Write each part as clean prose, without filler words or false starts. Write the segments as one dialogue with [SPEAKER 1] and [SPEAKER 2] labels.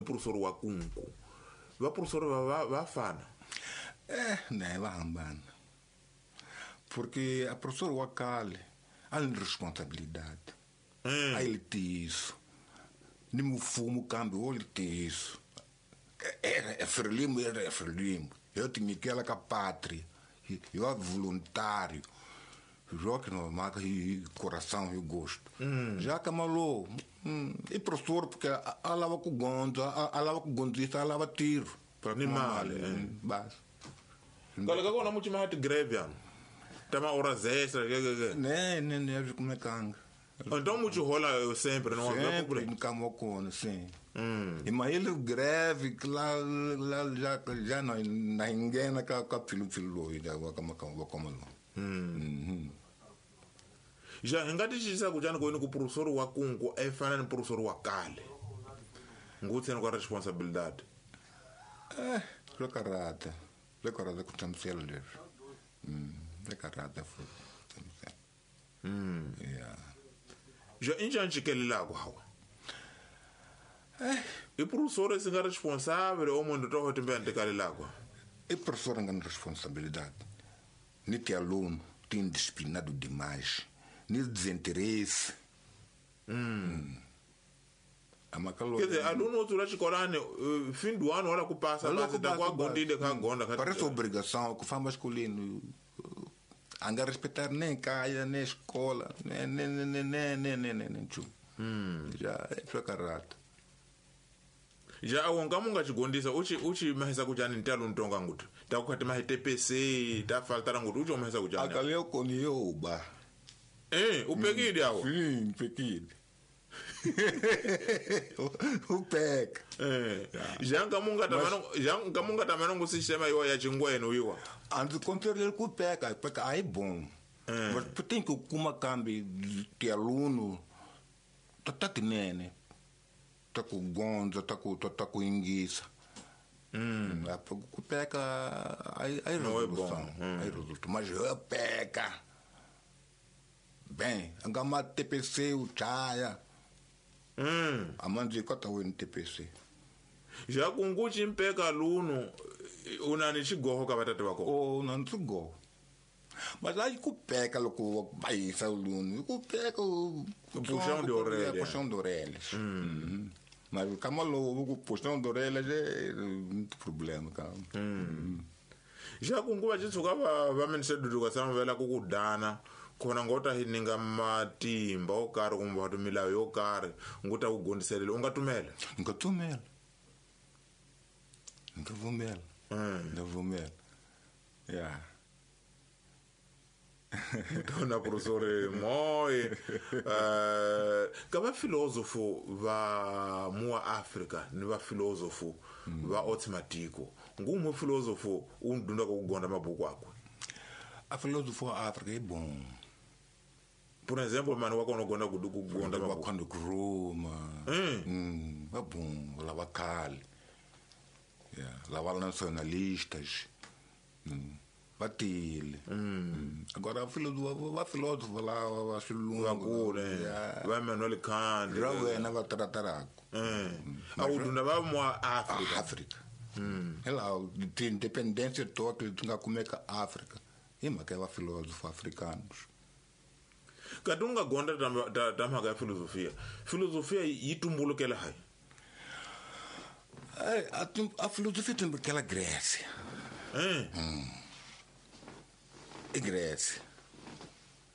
[SPEAKER 1] Professor wa kunku. Va professor va fana.
[SPEAKER 2] Ne va hambana. Porque a professor wa kale a ni responsabilidade. A ele tiso. Ni mfumo kambe wo tiso. Era Frelimo, era Frelimo. Eu tinha que ela com a pátria. Eu era voluntário. Joga no marca e coração e gosto. Já que malou. E professor, porque a lava com gonda, a lava com gondista, a lava tiro.
[SPEAKER 1] Ni mali.
[SPEAKER 2] Basta.
[SPEAKER 1] Kala ka kona muchima hati greve ano. Tama horas extra, que.
[SPEAKER 2] Ne, como é que anga.
[SPEAKER 1] Então muito rola sempre, não
[SPEAKER 2] é problema. Sempre camocona, sim. E mas ele greve que lá já não na engana ka filo da como não.
[SPEAKER 1] Já ngati chisa kujana ko ku professor wa kungu e fana ni professor wa kale. Ngutse no responsabilidade.
[SPEAKER 2] Lekarata ku tshamisela leswi. Lekarata futhi. Yeah.
[SPEAKER 1] Já injani kelelaku hawa. E professor se nga responsável o mundo todo também ante kalelaku.
[SPEAKER 2] E professor nga responsabilidade. Ni te aluno tem disciplinado demais. Ni desinteresse.
[SPEAKER 1] Quer dizer, aluno outro lá escolane, fim do ano olha que passa, da qual gondida ka gonda.
[SPEAKER 2] Parece obrigação que faz masculino. Anga respeitar nem caia, nem escola, nem tchu. Já é fracarata.
[SPEAKER 1] Já awonga munga chigondisa uchi mahisa kujani ntalo ntonga ngutu. Takukati mahi TPC, ta faltara ngutu uchi mahisa kujani.
[SPEAKER 2] Akaleo koniyo uba.
[SPEAKER 1] Upekide awo.
[SPEAKER 2] Sim, upekide. Upeka.
[SPEAKER 1] Já ngamunga tamano sistema iwa ya chingweno iwa.
[SPEAKER 2] Antes controle ku peka, peka aí bom. Mas tem que kuma kambi de aluno tá tinene. Tá com gonda, tá com inguiça. Ku peka aí resolução, aí resulta, mas eu peka. Bem, angama TPC o chaya. A mãe kota o TPC.
[SPEAKER 1] Já com guchi mpeka aluno unani chigoho ka batata bako.
[SPEAKER 2] Oh, não chigoho. Mas lá ku peka loko vai sa aluno, ku peka o
[SPEAKER 1] puxão de orelha.
[SPEAKER 2] Puxão de orelha. Mas o camalo, o puxão de orelha é muito problema, cara.
[SPEAKER 1] Já com guba chitsuka va minister education vela ku kudana. Khona ngota hininga matimba o karhi kumbe wa milawu yo karhi nguta ku gondiselela u nga tumela.
[SPEAKER 2] Nga tumela. Nga vumela. Yeah.
[SPEAKER 1] Dona professor Moi ka va filosofo va mua Africa ni va filosofo va otsimatiko ngumwe filosofo u ndunda ku gonda mabuku akwe.
[SPEAKER 2] A filosofo Africa é bom.
[SPEAKER 1] Por exemplo, mano, wa kona gonda kuduku gonda
[SPEAKER 2] wa kona kuruma. É bom, lá va kale. Yeah, lá va nacionalistas. Batile. Agora a filósofo lá, a filósofo,
[SPEAKER 1] vai Manuel Kant,
[SPEAKER 2] vai na tratarako.
[SPEAKER 1] A udunda va mua Africa.
[SPEAKER 2] África. Ela tem independência total, tunga kumeka África. E makeva filósofo africanos.
[SPEAKER 1] Kadunga gonda da mhaka ya filosofia. Filosofia yi tumbulukela hai.
[SPEAKER 2] A filosofia tumbulukela Grécia. E Grécia.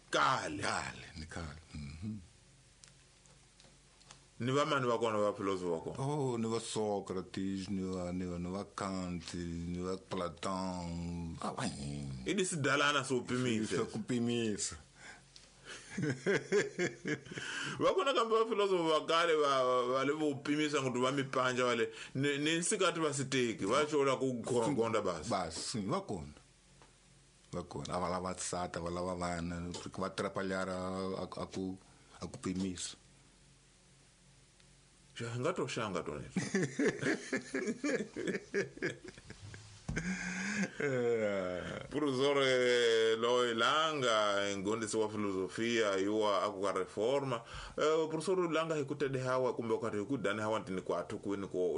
[SPEAKER 1] Kale.
[SPEAKER 2] Kale.
[SPEAKER 1] Ni va mani va kona va filosofo va kona?
[SPEAKER 2] Oh, ni va Sócrates, ni va Kant, ni va Platão.
[SPEAKER 1] E desse dalana so pimisa.
[SPEAKER 2] So pimisa.
[SPEAKER 1] Va kona kambe va filosofo va kale va le vo pimisa ngutu va mipanja vale ni nsikati va siteki va chola ku gonda basi.
[SPEAKER 2] Basi, va kona. Va kona, va lava sata, va lava vana, porque va atrapalhar a ku pimisa.
[SPEAKER 1] Já ngato shanga tone. Professor Loi Langa ngondisi wa filosofia yuwa akuka reforma. Professor Langa hikutede hawa kumbe wakati hikudani hawa ntini kwa atuku wini kwa